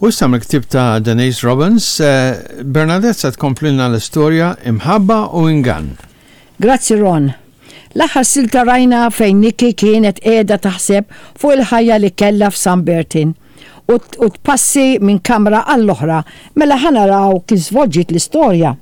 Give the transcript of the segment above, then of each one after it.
U issa mill-ktieb ta' Denise Robbins, Bernadette se tkomplilna l-istorja Imħabba u Ingann. Grazzi Ron. L-aħħar silta rajna fejn Nikki kienet qiegħda taħseb fuq il-ħajja li kellha f'San Bertin u tpassi minn kamra għall-oħra mela ħa naraw kif żvolġiet l-istorja.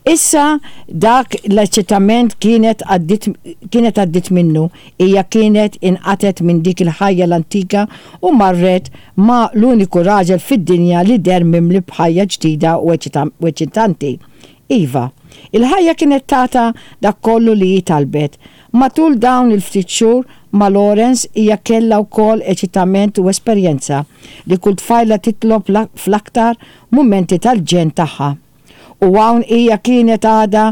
Issa dak l-eċitament kienet għaddiet kienet għaddiet minnu, hija kienet inqatgħet minn dik il-ħajja l-antika u marret ma' l-uniku raġel fid-dinja li deher mimli b'ħajja ġdida u eċitanti. Iva, il-ħajja kienet tatha dak kollu li hi talbet. Matul dawn il-ftit xhur ma' Lawrence hija kellha wkoll eċitament u esperjenza li kull tfajla titlob fl-aktar mumenti tal-ġenn tagħha. U hawn hija kienet għadha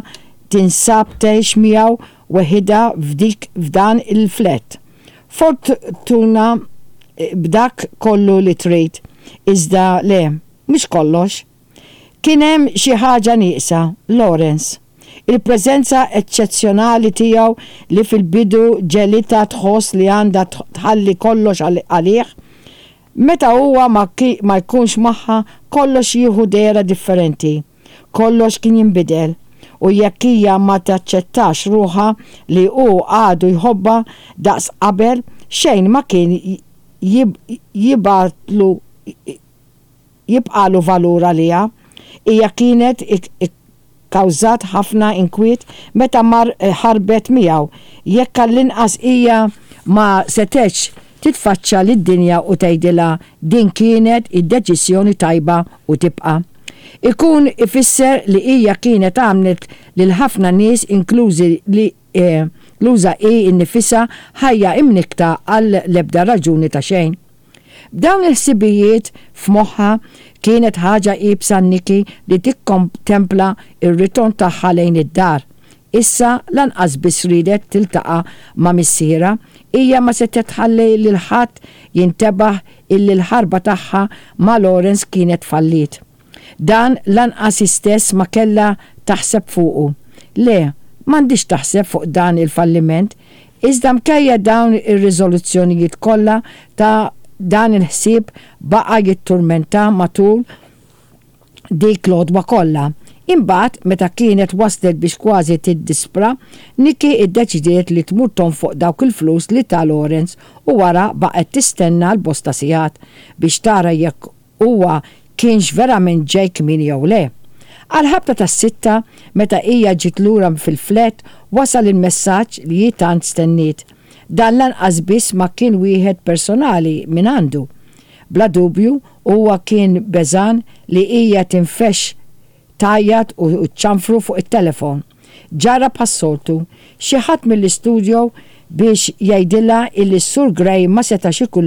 tinsab tgħix miegħu weħidha f'dik f'dan il-flat. Fortuna b'dak kollu li trid, iżda le, mhux kollox. Kien hemm xi ħaġa nieqsa, Lawrence. Il-preżenza eċċezzjonali tiegħu li fil-bidu ġegħlitha tħoss li għandha tħalli kollox għalih, Meta huwa ma ma jkunx magħha kollox jieħu dehra differenti. Kollox kien jinbidel. U jekk hija ma taċċettax ruħha li hu għadu jħobbha daqs qabel, xejn ma kien jibgħatlu jibqagħlu valur għaliha. Hija kienet ikkawżat ħafna inkwiet meta mar ħarbet miegħu, jekk għall-inqas hija ma setgħetx titfaċċa lid-dinja u tgħidilha din kienet id-deċiżjoni tajba u tibqa'. Ikun ifisser li hija kienet għamlet lil ħafna nies inklużi li inkluża hi nnifisha ħajja imnikkta għal l-ebda raġuni ta' xejn. B'dawn il-ħsibijiet f'moħħha, kienet ħaġa iebsa għal Nikki li tikkontempla r-ritorn tagħha lejn id-dar. Issa lanqas biss riedet tiltaqa' ma' missierha, hija ma setgħet tħalli lil ħadd jintebaħ illi l-ħarba tagħha ma' Lawrence kienet falliet. Dan lanqas hi stess ma kellha taħseb fuqu. Le, m'għandhiex taħseb fuq dan il-falliment. Iżda mkejja dawn ir-riżoluzzjonijiet kollha ta' dan il-ħsieb baqa' jitturmentha matul dik l-għodwa kollha. Imbagħad, meta kienet waslet biex kważi tiddispra, Nikki ddeċidiet li tmur tonfoq dawk il-flus li ta Lawrence u wara baqgħet tistenna għal bosta sigħat biex tara jekk huwa kienx verament ġej kmieni jew le. Għall-ħabta tas-sitta, meta hija ġiet lura fil-flat, wasal il-messaġġ li hi tant stenniet. Dan lanqas biss ma kien wieħed personali mingħandu. Bla dubju, huwa kien beżgħan li hija tinfexx tgħajjat u ċċanfru fuq it-telefon. Ġara bħas-soltu, xi ħadd mill-istudjo biex jgħidilha illi s-Sur Gray ma setax ikun lura.